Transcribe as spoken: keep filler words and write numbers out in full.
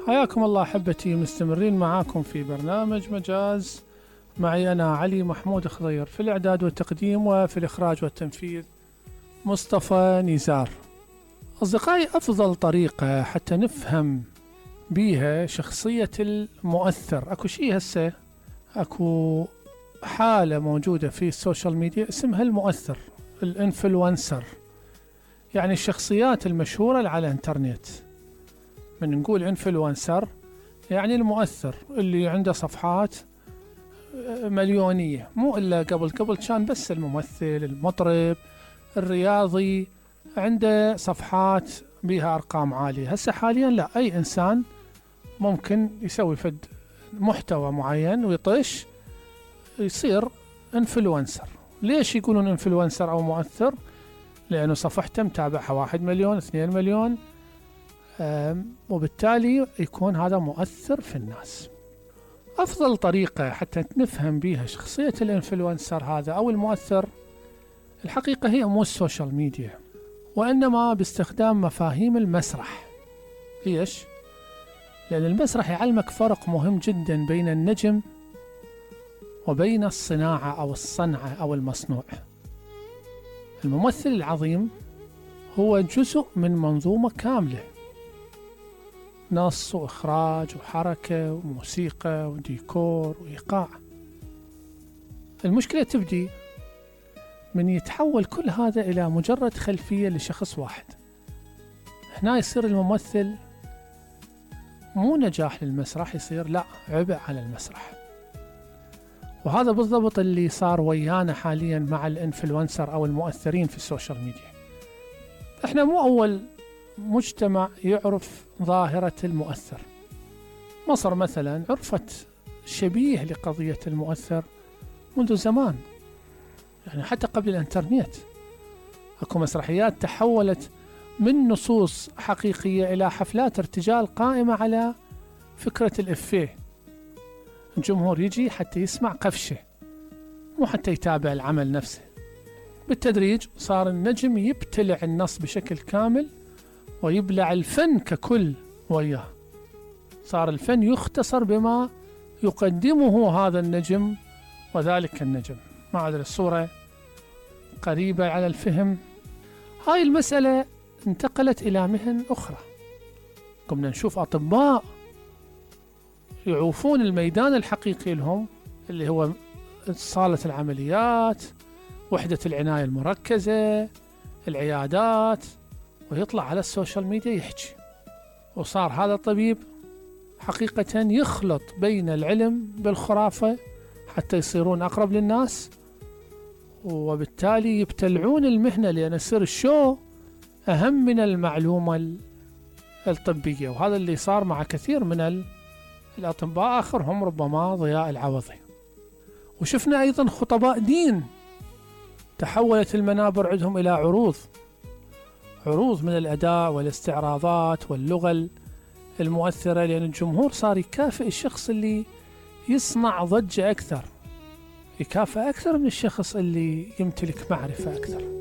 حياكم الله أحبتي، مستمرين معاكم في برنامج مجاز. معي أنا علي محمود خضير في الإعداد والتقديم، وفي الإخراج والتنفيذ مصطفى نزار. أصدقائي، أفضل طريقة حتى نفهم بيها شخصية المؤثر، أكو شيء هسه أكو حالة موجودة في السوشيال ميديا اسمها المؤثر، الانفلونسر، يعني الشخصيات المشهورة على الانترنت. من نقول انفلونسر يعني المؤثر اللي عنده صفحات مليونية، مو إلا قبل قبل كان بس الممثل، المطرب، الرياضي عنده صفحات بها أرقام عالية. هسه حاليا لا، أي إنسان ممكن يسوي فد محتوى معين ويطش يصير انفلونسر. ليش يقولون انفلونسر أو مؤثر؟ لأنه صفحته متابعها واحد مليون اثنين مليون، وبالتالي يكون هذا مؤثر في الناس. أفضل طريقة حتى نفهم بها شخصية الانفلونسر هذا أو المؤثر الحقيقة هي مو السوشيال ميديا، وإنما باستخدام مفاهيم المسرح. ليش؟ لأن المسرح يعلمك فرق مهم جدا بين النجم وبين الصناعة أو الصنعة أو المصنوع. الممثل العظيم هو جزء من منظومة كاملة، نص وإخراج وحركة وموسيقى وديكور وإيقاع. المشكلة تبدي من يتحول كل هذا إلى مجرد خلفية لشخص واحد. هنا يصير الممثل مو نجاح للمسرح، يصير لا، عبء على المسرح. وهذا بالضبط اللي صار ويانا حاليا مع الانفلونسر أو المؤثرين في السوشيال ميديا. احنا مو أول مجتمع يعرف ظاهرة المؤثر. مصر مثلا عرفت شبيه لقضية المؤثر منذ زمان، يعني حتى قبل الانترنت. اكو مسرحيات تحولت من نصوص حقيقية إلى حفلات ارتجال قائمة على فكرة الإفيه. الجمهور يجي حتى يسمع قفشة، مو حتى يتابع العمل نفسه. بالتدريج صار النجم يبتلع النص بشكل كامل ويبلع الفن ككل وياه. صار الفن يختصر بما يقدمه هذا النجم وذلك النجم. ما أدري الصورة قريبة على الفهم. هاي المسألة انتقلت إلى مهن أخرى. قمنا نشوف أطباء يعوفون الميدان الحقيقي لهم، اللي هو صالة العمليات، وحدة العناية المركزة، العيادات، ويطلع على السوشيال ميديا يحكي. وصار هذا الطبيب حقيقة يخلط بين العلم بالخرافة حتى يصيرون أقرب للناس، وبالتالي يبتلعون المهنة، لأن يصير الشو أهم من المعلومة الطبية. وهذا اللي صار مع كثير من الأطباء، آخرهم ربما ضياء العوضي. وشفنا أيضا خطباء دين تحولت المنابر عندهم إلى عروض عروض من الأداء والاستعراضات واللغة المؤثرة، لأن الجمهور صار يكافئ الشخص اللي يصنع ضجة أكثر، يكافئ أكثر من الشخص اللي يمتلك معرفة أكثر.